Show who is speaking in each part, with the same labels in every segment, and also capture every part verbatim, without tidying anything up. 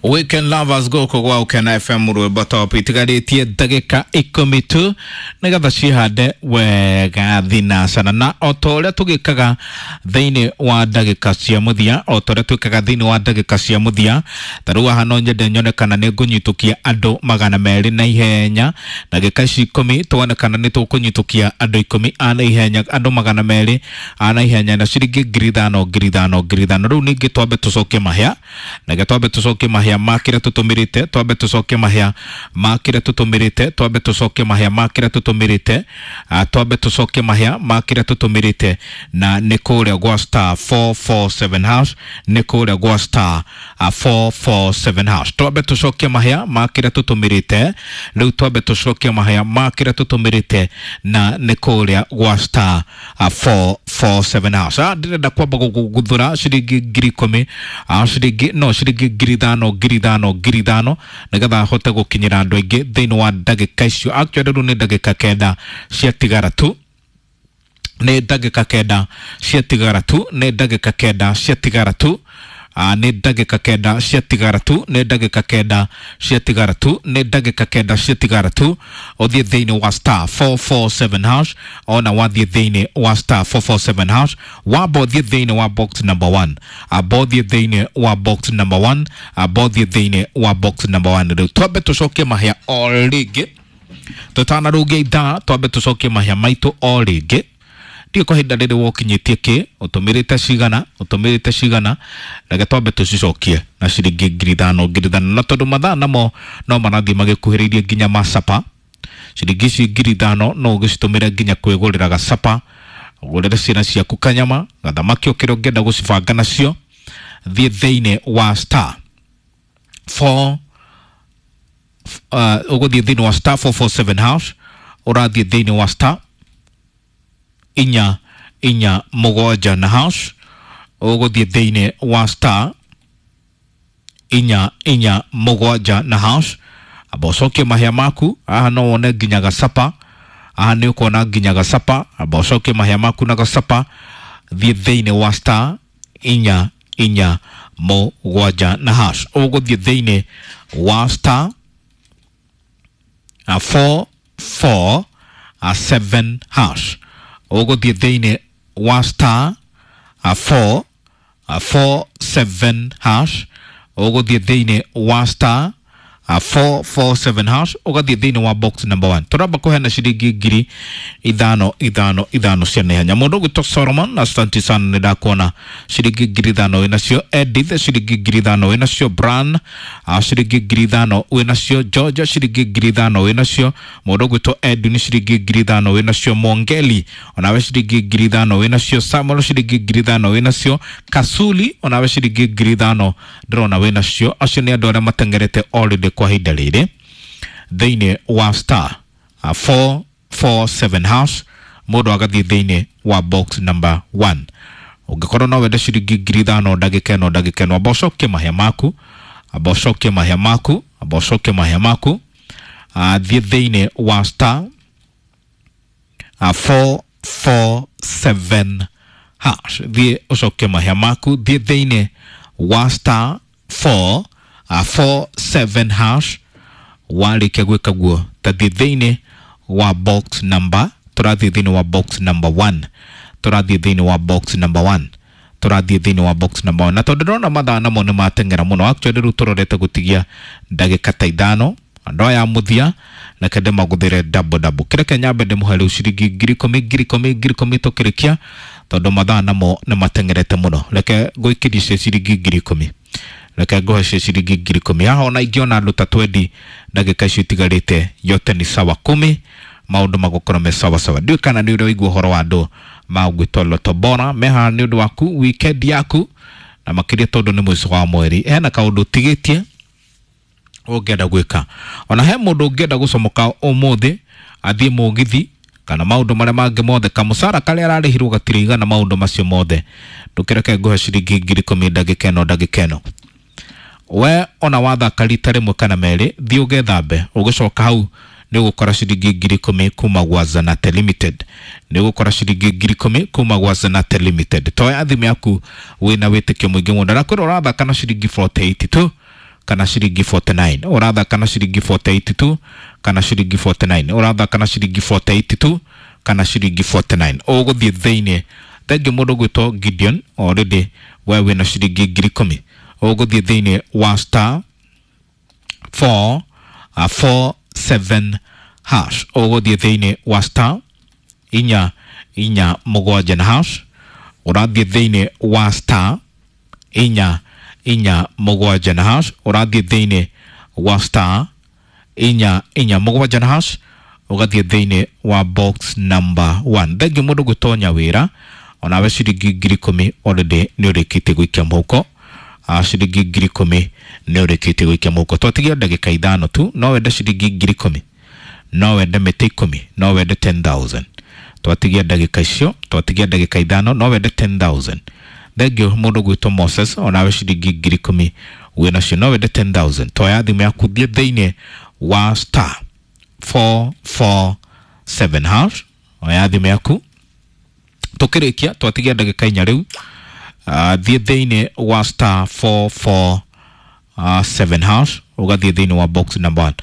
Speaker 1: Weekend Lovers gũkũ gwa Ũkena F M rwĩmbo top itigarĩtie ndagĩka ikũmi tu nĩgetha cihande wega thinacana na o ta ũrĩa tũgĩkaga thĩinĩ wa ndagĩka cia mũthia, o ta ũrĩa twĩkaga thĩinĩ wa ndagĩka cia mũthia. Ta rĩu haha no nyende nyone kana nĩ ngũnyitũkia andũ magana merĩ na ihenya ndagĩka ici ikũmi, tuone kana nĩ tũkũnyitũkia andũ ikũmi a na ihenya, andũ magana merĩ a na ihenya na ciringi ngiri ithano ngiri ithano ngiri ithano. Rĩu ningĩ twambe tũcokie mahĩa, reke twambe tũcokie mahĩa ma kĩrĩa tũtũmĩrĩte, twambe tũcokie mahĩa ma kĩrĩa tũtũmĩrĩte, twambe tũcokie mahĩa ma kĩrĩa tũtũmĩrĩte, twambe tũcokie mahĩa ma kĩrĩa tũtũmĩrĩte, na nĩ kũrĩa gwa star four four seven hash, nĩ kũrĩa gwa star four four seven hash. Twambe tũcokie mahĩa ma kĩrĩa tũtũmĩrĩte, rĩu twambe tũcokie mahĩa ma kĩrĩa tũtũmĩrĩte, na nĩ kũrĩa gwa star four four seven hash. Ndĩrenda kwamba gũguthũra ciringi ngiri ikũmi, ciringi no ciringi ngiri ithano ngiri ithano ngiri ithano nĩgetha hote gũkinyĩra andũ aingĩ thĩinĩ wa ndagĩka icio. Actually rĩu nĩ ndagĩka kenda ciatigara tu, nĩ ndagĩka kenda ciatigara tu, nĩ ndagĩka kenda ciatigara tu, nĩ ndagĩka kenda ciatigara tu, nĩ ndagĩka kenda ciatigara tu, nĩ ndagĩka kenda ciatigara tu. Ũthiĩ thĩinĩ wa star four four seven hash, ona wathiĩ thĩinĩ wa star four four seven hash, wamba ũthiĩ thĩinĩ wa box number one, amba ũthiĩ thĩinĩ wa box number one, amba ũthiĩ thĩinĩ wa box number one. Rĩu twambe tũcokie mahĩa o rĩngĩ tũtanarũngia ithaa, twambe tũcokie mahĩa maitũ o rĩngĩ. Ndiũ kwa ihinda rĩrĩ wokinyĩtie kĩ, ũtũmĩrĩte cigana, ũtũmĩrĩte cigana, reke twambe tũcicokie na ciringi ngiri ithano ngiri ithano, na tondũ mathaa namo no marathiĩ magĩkuhĩrĩirie nginya macapa, ciringi ici ngiri ithano no ũgĩcitũmĩre nginya kwĩgũrĩra gacapa, ũgũrĩre ciana ciaku kanyama, gathamaki o kĩrĩa ũngĩenda gũcibanga nacio. Thiĩ thĩinĩ wa star four, ũgũthiĩ thĩinĩ wa star four four seven hash, ũrathiĩ thĩinĩ wa star inya inya mũgwanja na hash, ũgũthiĩ thĩinĩ wa star inya inya mũgwanja na hash, amba ũcokie mahĩa maku. Haha no wone nginya gacapa, haha nĩ ũkuona nginya gacapa, amba ũcokie mahĩa maku na gacapa. Thiĩ thĩinĩ wa star inya inya mũgwanja na hash, ũgũthiĩ thĩinĩ wa star four four seven hash, ũgũthiĩ thĩinĩ wa star four four seven hash, ũgũthiĩ thĩinĩ wa star four four seven hash, ũgathiĩ thĩinĩ wa box number one. Tũramba kũheana ciringi ngiri ithano ithano ithano cia naihenya. Mũndũ ũgwĩtwo Solomon, asante sana, nĩndakuona ciringi ngiri ithano wĩnacio. Edith ciringi ngiri ithano wĩnacio. Bran ciringi ngiri ithano wĩnacio. Georgia ciringi ngiri ithano wĩnacio. Mũndũ ũgwĩtwo Edwin ciringi ngiri ithano wĩnacio. Mongeli onawe ciringi ngiri ithano wĩnacio. Samuel ciringi ngiri ithano wĩnacio. Kasuli onawe ciringi ngiri ithano ndĩrona wĩnacio. Acio nĩ andũ arĩa mateng'erete already kwa ihinda rĩrĩ thĩinĩ wa star four four seven hash, mũndũ agathiĩ thĩinĩ wa box number one. Ũngĩkorwo no wende ciringi ngiri ithano ndagĩka ĩno ndagĩka ĩno, amba ũcokie mahĩa maku, amba ũcokie mahĩa maku, amba ũcokie mahĩa maku. Thiĩ thĩinĩ wa star four four seven hash, thiĩ ũcokie mahĩa maku, thiĩ thĩinĩ wa star four four seven hash. Warĩkia gwĩka guo, ta thiĩ thĩinĩ wa box number, tũrathiĩ thĩinĩ wa box number one, tũrathiĩ thĩinĩ wa box number one, tũrathiĩ thĩinĩ wa box number one. Na tondũ ndĩrona mathaa namo nĩ mateng'era mũno, actually rĩu tũrorete gũtigia ndagĩka ta ithano, andũ aya mũthia reke ndĩmagũthĩre double double. Kĩreke nyambe ndĩmũhe rĩu ciringi ngiri ikũmi ngiri ikũmi ngiri ikũmi tũkĩrĩkia, tondũ mathaa namo nĩ mateng'erete mũno. Reke ngũikĩrie cio ciringi ngiri ikũmi, reke ngũhe cio ciringi ngiri ikũmi. Haha ona ingĩona andũ ta twendi ndagĩka icio itigarĩte, yote ni sawa kumi, maũndũ magũkorwo me sawa sawa. Ndiũĩ kana nĩ ũrĩ waigua ũhoro wa andũ magwĩtwo Lotto Bora me haha nĩ ũndũ waku weekend yaku, na makĩria tondũ nĩ mũico wa mweri. Hena kaũndũ ũtigĩtie ũngĩenda gwĩka, ona he mũndũ ũngĩenda gũcomoka ũmũthĩ athiĩ mũgithi kana maũndũ marĩa mangĩ mothe, kamũcara karĩa ararĩhirwo gatirĩ igana maũndũ macio mothe, ndũkĩreke ngũhe ciringi ngiri ikũmi ndagĩka ĩno ndagĩka ĩno. We ona wathaka rita rĩmwe kana merĩ, thiĩ ũgethambe, ũgĩcoka hau nĩ ũgũkora ciringi ngiri ikũmi kuma gwa Zanate Limited, nĩ ũgũkora ciringi ngiri ikũmi kuma gwa Zanate Limited. Toya thimũ yaku wĩna wĩtĩkio mũingĩ mũno, na kwĩra ũrathaka na ciringi forty eight tu, kana ciringi forty-nine. Ũrathaka na ciringi forty-eight tu kana ciringi forty-nine. Ũrathaka na ciringi forty-eight tu kana ciringi forty-nine. Ũgũthiĩ thĩinĩ. Thengiũ mũndũ gwĩtwo Gideon, already we wĩna ciringi ngiri ikũmi. Ũgũthiĩ thĩinĩ wa star four four seven hash. Ũgũthiĩ thĩinĩ wa star inya inya mũgwanja na hash. Ũrathiĩ thĩinĩ wa star inya inya mũgwanja na hash. Ũrathiĩ thĩinĩ wa star inya inya mũgwanja na hash. Ũgathiĩ thĩinĩ wa box number one. Thengiũ mũndũ gwĩtwo Nyawĩra, onawe ciringi ngiri ikũmi already nĩ ũrĩkĩtie gũikia mũhuko. Ciringi ngiri ikũmi nĩ ũrĩkĩtie gũikia mũhuko. Twatigia ndagĩka ithano tu, no wende ciringi ngiri ikũmi, no wende mĩtĩ ikũmi, no wende ten thousand. Twatigia ndagĩka icio, twatigia ndagĩka ithano, no wende ten thousand. Thengiũ mũndũ gwĩtwo Moses, onawe ciringi ngiri ikũmi wĩnacio, no wende ten thousand. Toya thimũ yaku, thiĩ thĩinĩ wa star four four seven hash. Oya thimũ yaku. Tũkĩrĩkia twatigia ndagĩka inya rĩu. Thiĩ thĩinĩ wa star four four seven hash, ũgathiĩ thĩinĩ wa box number one.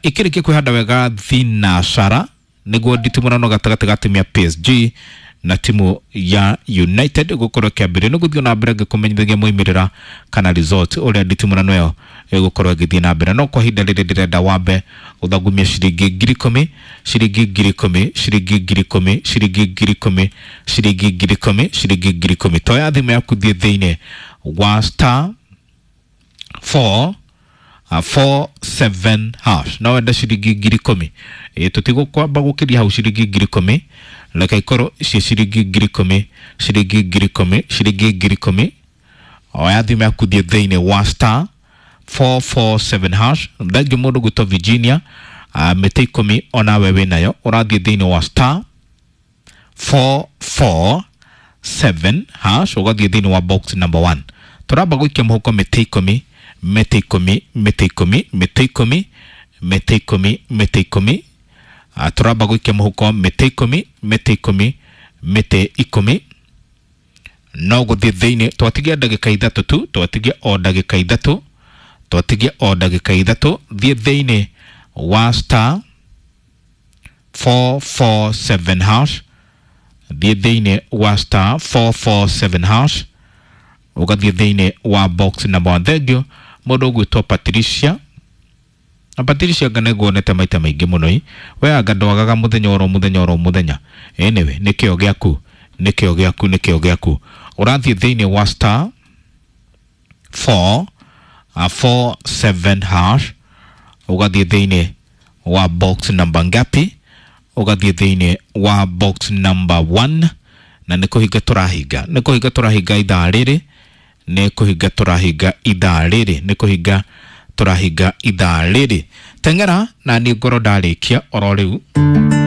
Speaker 1: Ĩkĩrĩkia kwĩhanda wega thinacara nĩguo nditimũrano gatagatĩ ga timu ya P S G na timu ya United gũkorwo ĩkĩambĩrĩria. Nĩ gũthiĩ na mbere ngĩkũmenyithagia moimĩrĩra kana result ũrĩa nditimũrano ĩyo ĩgũkorwo ĩgĩthiĩ na mbere. No kwa ihinda rĩrĩ ndĩrenda wambe ũthagumie ciringi ngiri ikũmi, ciringi ngiri ikũmi, ciringi ngiri ikũmi, ciringi ngiri ikũmi, ciringi ngiri ikũmi, ciringi ngiri ikũmi. Toya thimũ yaku, thiĩ thĩinĩ wa star four four seven hash. No wende ciringi ngiri ikũmi. Ĩ tũtigũkwamba gũkĩria hau ciringi ngiri ikũmi. Reke ikorwo ciĩ ciringi ngiri ikũmi, ciringi ngiri ikũmi, ciringi ngiri ikũmi. Oya thimũ yaku, thiĩ thĩinĩ wa star four four seven hash. Thengiũ mũndũ gwĩtwo Virginia, mĩtĩ ikũmi onawe wĩnayo. Ũrathiĩ thĩinĩ wa star four four seven hash, ũgathiĩ thĩinĩ wa box number one. Tũramba gũikia mũhuko mĩtĩ ikũmi, mĩtĩ ikũmi, mĩtĩ ikũmi, mĩtĩ ikũmi, mĩtĩ ikũmi, mĩtĩ ikũmi. Tũramba gũikia mũhuko mĩtĩ ikũmi, mĩtĩ ikũmi, mĩtĩ ikũmi. No gũthiĩ thĩinĩ, twatigia ndagĩka ithatũ tu, twatigia o ndagĩka ithatũ, twatigia o ndagĩka ithatũ. Thiĩ thĩinĩ wa star four four seven hash. Thiĩ thĩinĩ wa star four four seven hash, ũgathiĩ thĩinĩ wa box number one. Thengiũ mũndũ ũgwĩtwo Patricia. Na Patricia anga nĩnguonete maita maingĩ mũno ĩ. We anga ndwagaga mũthenya oro mũthenya oro mũthenya. Anyway, nĩ kĩo gĩaku, nĩ kĩo gĩaku, nĩ kĩo gĩaku. Ũrathiĩ thĩinĩ wa star four four seven hash, ũgathiĩ thĩinĩ wa box number ngapi? Ũgathiĩ thĩinĩ wa box number one. Na nĩ kũhinga tũrahinga, nĩ kũhinga tũrahinga ithaa rĩrĩ, nĩ kũhinga tũrahinga ithaa rĩrĩ, nĩ kũhinga tũrahinga ithaa rĩrĩ. Teng'era na niĩ ngorwo ndarĩkia oro rĩu.